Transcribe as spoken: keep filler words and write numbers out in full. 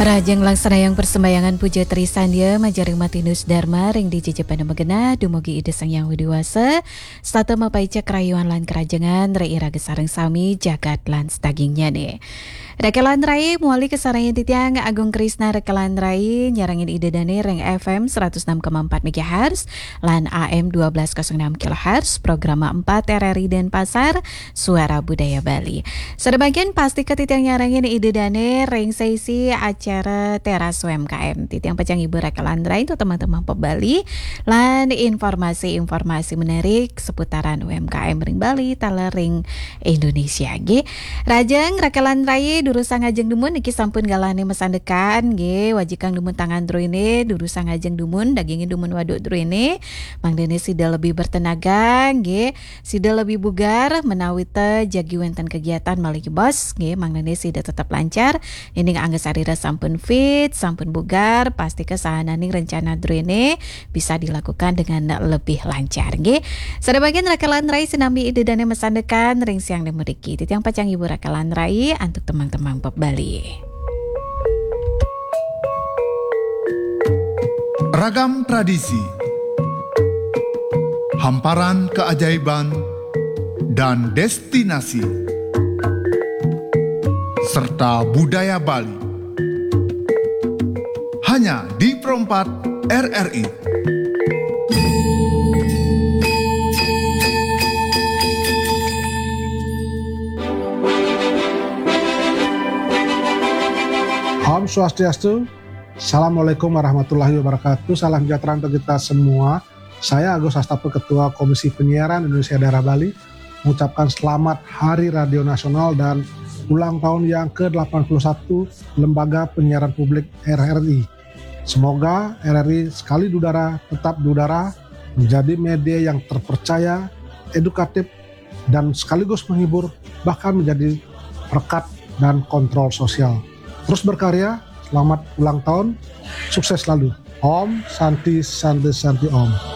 Rahajeng laksana yang persembayangan puja trisandia majeng ring Martinus Dharma ring dija jepana magenah dumugi Ida Sang Hyang Widhi Wasa, setata mapaica karahayuan lan karahajengan ring iraga sareng sami jagat lan sadagingnyane. Rekelan rai mawali kasarengin titiang Agung Krisna Rekelan rai nyarengin Ida Dane ring F M seratus enam koma empat megahertz lan A M dua belas kosong enam kilohertz, programa empat R R I Denpasar, Suara Budaya Bali. Sadabagian pastika titiang nyarengin Ida Dane ring sesi acara Teras U M K M. Titiang pacang ngibur rekelan rai untuk teman-teman pebali lan informasi-informasi menarik seputaran U M K M ring Bali, taler ring Indonesia, nggih. Rahajeng rekelan rai durusang ajeng dumun niki sampun galahne masandekan, nggih. Wajikang dumun tangan druene, durusang ajeng dumun, dagingin dumun waduk druene. Mangdane sida lebih bertenaga, nggih. Sida lebih bugar, menawita jagi wenten kegiatan malih jebos, nggih. Mangdane sida tetap lancar. Yening angga sarira sampun fit, sampun bugar, pastika sahananing rencana druene bisa dilakukan dengan lebih lancar, nggih. Sadabagian rekelan rai sinambi Ida Dane masandekan ring siang dane mriki. Titiang pacang ngibur rekelan rai antuk teman-teman pebali. Ragam tradisi, hamparan keajaiban, dan destinasi, serta budaya Bali. Hanya di Pro empat R R I. Om Swastiastu. Assalamualaikum warahmatullahi wabarakatuh. Salam sejahtera untuk kita semua. Saya Agus Astape, Ketua Komisi Penyiaran Indonesia Daerah Bali, mengucapkan selamat Hari Radio Nasional dan ulang tahun yang ke delapan puluh satu Lembaga Penyiaran Publik R R I. Semoga R R I sekali di udara, tetap di udara, menjadi media yang terpercaya, edukatif, dan sekaligus menghibur, bahkan menjadi perekat dan kontrol sosial. Terus berkarya, selamat ulang tahun, sukses selalu. Om Santi Santi Santi Om.